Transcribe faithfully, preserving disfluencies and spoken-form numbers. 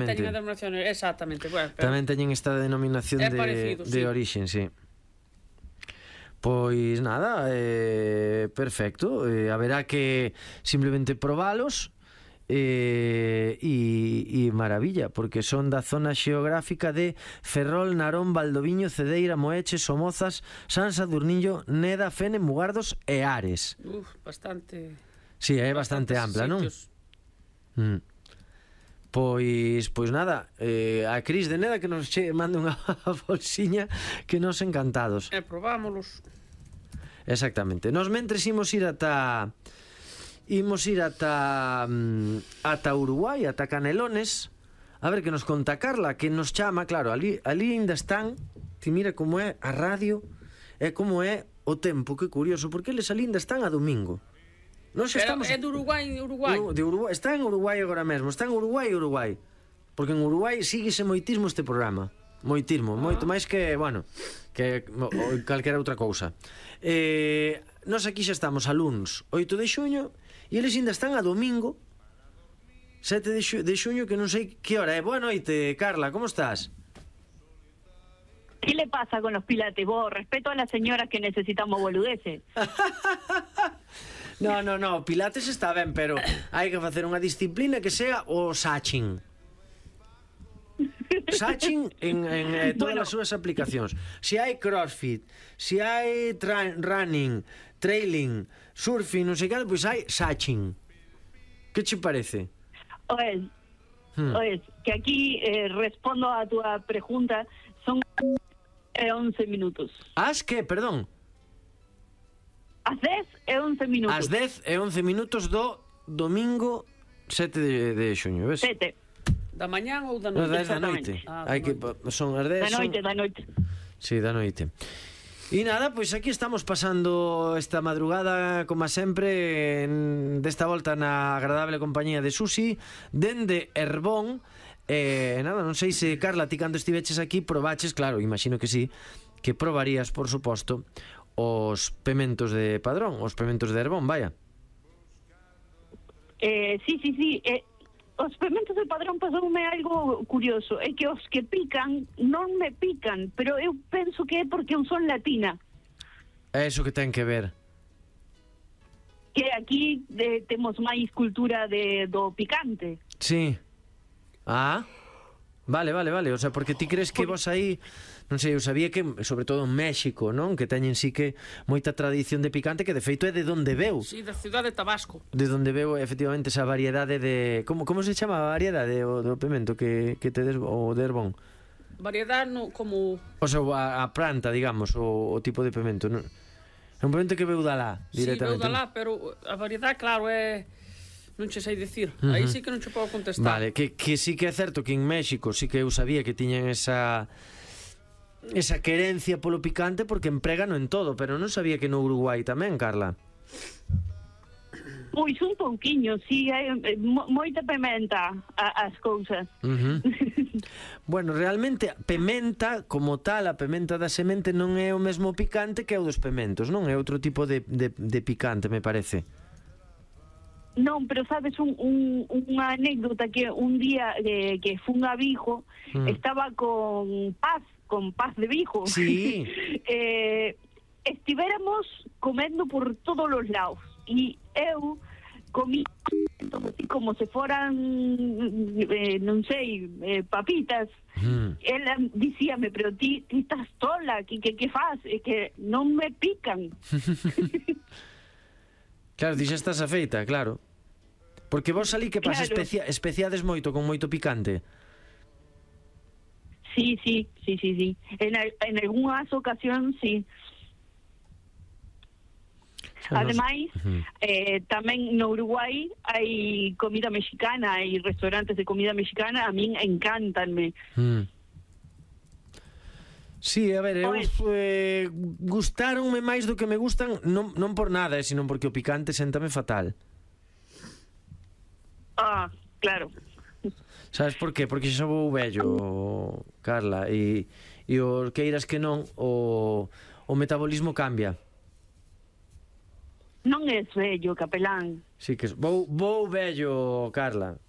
Teñen a denominación, exactamente. Bueno, pero tamén teñen esta denominación é de, parecido, de sí. orixen, sí. Pois nada, eh, perfecto. Eh, haberá que simplemente probalos. E, e, e maravilla, porque son da zona xeográfica de Ferrol, Narón, Valdoviño, Cedeira, Moeche, Somozas, San Sadurniño, Neda, Fene, Mugardos e Ares. Uf, bastante. Si, sí, é bastante ampla, non? Mm. Pois, pois nada, eh, a Cris de Neda que nos che mande unha bolsiña, que nos encantados. E probámolos. Exactamente. Nos mentres imos ir ata imos ir ata ata Uruguai, ata Canelones, a ver que nos conta Carla, que nos chama, claro, ali, ali ainda están, ti mira como é a radio, e como é o tempo, que curioso, porque eles ali ainda están a domingo. Nos estamos... É de Uruguai, Uruguai. De Uruguai. Está en Uruguai agora mesmo, está en Uruguai, Uruguai. Porque en Uruguai síguese moitismo este programa. Moitismo, ah. moito máis que, bueno, que o, calquera outra cousa. Eh, nos aquí xa estamos a luns oito de xuño e eles ainda están a domingo sete de, xu, de xuño, que non sei que hora é. Boa noite, Carla, como estás? ¿Qué le pasa con los pilates? Vos, respeto a las señoras que necesitamos boludeces. No, no, no, pilates está ben, pero hai que facer unha disciplina que sea o sachin. Sachin en, en eh, todas bueno. as súas aplicacións. Se hai crossfit, se hai running, trailing, surfing, non sei que, pois hai sachin. Que che parece? Oes, hmm. oes, que aquí eh, respondo a tu pregunta, son eh, once minutos. As que, perdón? As dez e once minutos. As dez e once minutos do domingo sete de, de xuño, ves? sete. Da mañán ou da noite? No, da noite. Ah, Hai que son as dez. Da noite, son... da noite. Sí, da noite. E nada, pois aquí estamos pasando esta madrugada, como sempre, en, desta volta na agradable compañía de Susi, dende Herbón. E eh, nada, non sei se, Carla, ti cando estiveches aquí probaches, claro, imagino que sí, que probarías, por suposto, os pementos de Padrón, os pementos de Herbón, vaya. Eh, sí, sí, sí, eh, os pementos de Padrón pasoume algo curioso, é que os que pican non me pican, pero eu penso que é porque eu son latina. É iso que ten que ver. Que aquí de, temos máis cultura de, do picante. Sí. Ah, vale, vale, vale, o sea, porque ti crees que vos aí, non sei, eu sabía que, sobre todo en México, non? Que teñen sí que moita tradición de picante, que de feito é de donde veu. Sí, da cidade de Tabasco. De donde veu, efectivamente, esa variedade de... Como, como se chama a variedade o, do pimento que, que tedes, o de Herbón? Variedade no, como... O sea, a, a planta, digamos, o, o tipo de pimento, non? É un pimento que veu da lá, directamente. Sí, veu da lá, pero a variedade, claro, é... Non che sei dicir, uh-huh. Aí sí que non che podo contestar. Vale, que, que sí que é certo que en México sí que eu sabía que tiñan esa esa querencia polo picante, porque empregano en todo, pero non sabía que no Uruguai tamén, Carla. Pois un pouquiño, sí, hai moita pimenta a, as cousas. Uh-huh. Bueno, realmente pimenta como tal, a pimenta da semente non é o mesmo picante que o dos pimentos, non é outro tipo de, de, de picante, me parece. Non, pero sabes un, un, unha anécdota que un día eh, que fun a Vigo, mm. estaba con Paz, con Paz de Vigo. Sí. eh, estivéramos comendo por todos os lados e eu comí así como se foran eh, non sei, eh, papitas. Mm. Ela dicíame, pero ti, ti estás tola, que, que, que faz? É que non me pican. Claro, ti xa estás afeita, claro. Porque vos ali que pasa, claro. especia, especiades moito, con moito picante. Sí, sí, sí, sí, sí. En, en algunhas ocasións, sí. Ademais, uh-huh. eh, tamén no Uruguai hai comida mexicana, hai restaurantes de comida mexicana, a min encantanme. Mm. Sí, a ver, eu eh, gustaronme máis do que me gustan, non, non por nada, eh, sino porque o picante séntame fatal. Ah, claro. Sabes por qué? Porque xa vou vello, Carla, e, e o queiras que non, o, o metabolismo cambia. Non é vello, capelán. Sí, que vou, vou vello, Carla.